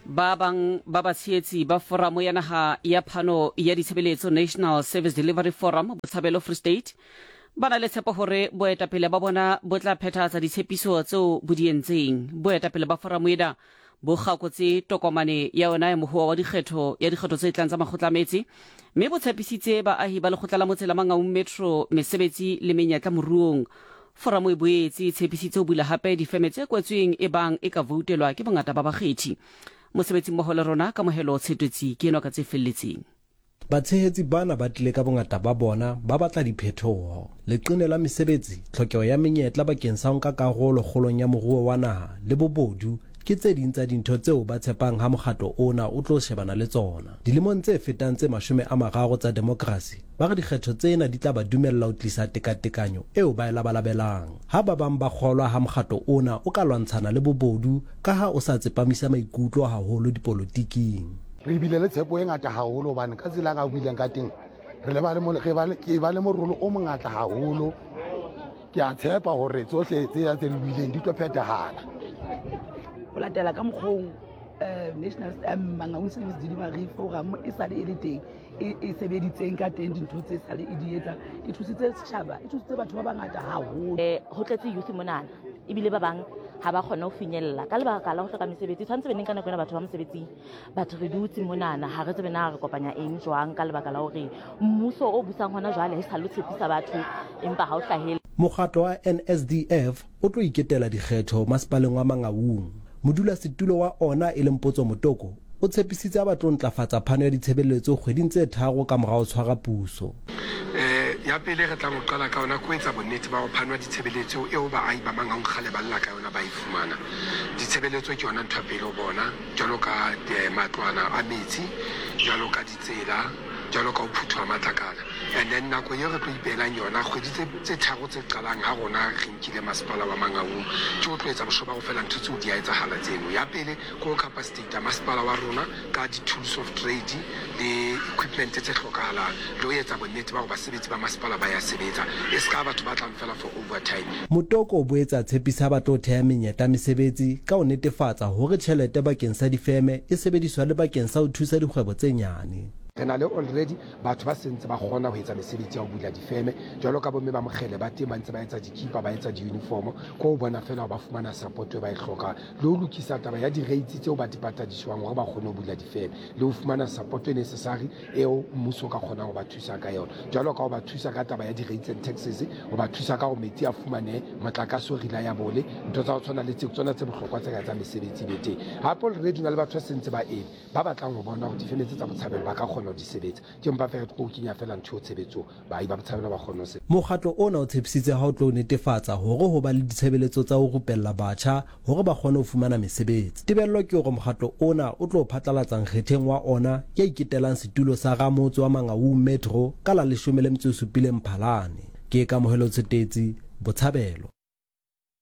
Ba bang ba batshehetsi ba Foramo ya Naha ya Phano ya Ditshebeletso, National Service Delivery Forum, Botshabelo, Free State, ba na le tshepo hore boetapele ba bona bo tla phethahatsa ditshepiso tseo bo di entseng. Boetapele ba foramo ena bo kgakotse tokomane ya yona ya mohoa wa dikgetho ya dikgetho tse tlang tsa makgotla a metse mme bo tshepisitse baahi ba lekgotla la motse la Mangaung Metro mesebetsi le menyetla moruong. Foramo e boetse e tshepisitse ho bula hape difeme tse kwetsweng ebang e ka voutelwa ke bongata ba bakgethi. Mosebetsimmoho le rona, Kamohelo Tshetwetsi ke enwa ka tse felletseng. Batshehetsi bana ba tlile ka bongata ba bona ba batla diphethoho. Leqine la mesebetsi, tlhokeho ya menyetla bakeng sa ho nka karolo kgolong ya moruo wa naha le bobodu ke tse ding tsa dintho tseo ba tshepang ha mokgatlo ona o tlo shebana le tsona. Dilemong tse fetang tse 30 tsa demokrasi, Ba re dikgetho tsena di tla ba dumella ho tlisa tekatekanyo eo ba e labalabelang. Ha ba bang ba kgolwa ha mokgatlo ona o ka lwantshana le bobodu ka ha o sa tsepamisa maikutlo haholo dipolotiking. Re bile le tshepo e ngata haholo hobane ka tsela a buileng ka teng re le ba le re ba le ke ba le morolo o mongata haholo. Ke a tshepa hore tsohle tse tse re buileng di tlo phethahala. Ho latela ka mokgong National Mangaung Service Delivery Forum e sale e le teng e, e sebeditseng ka teng dintho tse sale e di etsa e thusitse setjhaba e thusitse batho ba bangata haholo. Ho tletse youth monana ebile ba bang ha ba kgone ho finyella ka lebaka la ho hloka mesebetsi. Tshwanetse be neng ka nako ena batho ba mosebetsing, but re dutse monana ha re tsebe na re kopanya eng jwang ka lebaka la hore mmuso o busang hona jwale ha e sa lo tshepisa batho empa ha o hlahele. Mokgatlo wa NSDF o tlo iketela dikgetho masepaleng wa Mangaung. Modulasetulo wa ona e leng Potso Motoko o tshepisitse ha ba tlo ntlafatsa phano ya ditshebeletso kgweding tse tharo ka mora ho tshwara puso. Ya pele re tlang ho qala ka yona ke ho etsa bonnete ba hore phano ya ditshebeletso eo baahi ba Mangaung kgale ba lla ka yona ba e fumana. Ditshebeletso ke yona ntho ya pele ho bona, jwalo ka matlwana a metsi, jwalo ka ditsela, jwalo ka ho phuthwa matlakala. And then nako eo re tlo ipeelang yona kgwedi tse tse tharo tse qalang ha rona re nkile masepala wa Mangaung ke ho tlo etsa bosho ba ho fela ntho tseo di a etsahala tseno. Ya pele ke ho capacitate masepala wa rona ka di-tools of trade le equipment tse hlokahalang le ho etsa bonnete ba hore basebetsi ba masepala ba ya sebetsa e se ka batho ba tlang fela for overtime. Motoko o boetse a tshepisa ha ba tlo theha menyetla ya mesebetsi ka ho netefatsa hore tjhelete bakeng sa difeme e sebediswa le bakeng sa ho thusa dikgwebo tse nyane. Re na le already Batho ba se ntse ba kgona ho etsa mesebetsi ya ho bula difeme jwalo ka bomme ba mokgele ba teng ba ntse ba etsa dikipa, ba etsa di-uniform. Ke ho bona feela hore ba fumana support e ba e hlokang le ho lokisa taba ya di-rates tseo ba di patadiswang hore ba kgone ho bula difeme le ho fumana support e necessary eo mmuso o ka kgonang ho ba thusa ka yona. Jwalo ka ho ba thusa ka taba ya di-rates and taxes, ho ba thusa ka hore metsi a fumanehe, motlakase o reliable, ntho tsa ho tshwana le tseo ke tsona tse bohlokwa tse ka etsang mesebetsi e be teng. Hape already ho na le batho ba se ntse ba eme Ba batlang ho bona hore difeme tse tsa Botshabelo ba ka kgona ho di sebetsa. Ke mpa feela ke tlo kenya feela ntho eo tshebetsong, baahi ba Botshabelo ba kgone ho sebetsa. Mokgatlo ona o tshepisitse ha o tlo netefatsa hore ho ba le ditshebeletso tsa ho rupella batjha hore ba kgone ho fumana mesebetsi. Tebello ke hore mokgatlo ona o tlo phatlalatsa nkgetheng wa ona ya iketelang setulo sa ramotse wa Mangaung Metro ka la 17 Mphalane. Ke Kamohelo Tshetetsi, Botshabelo.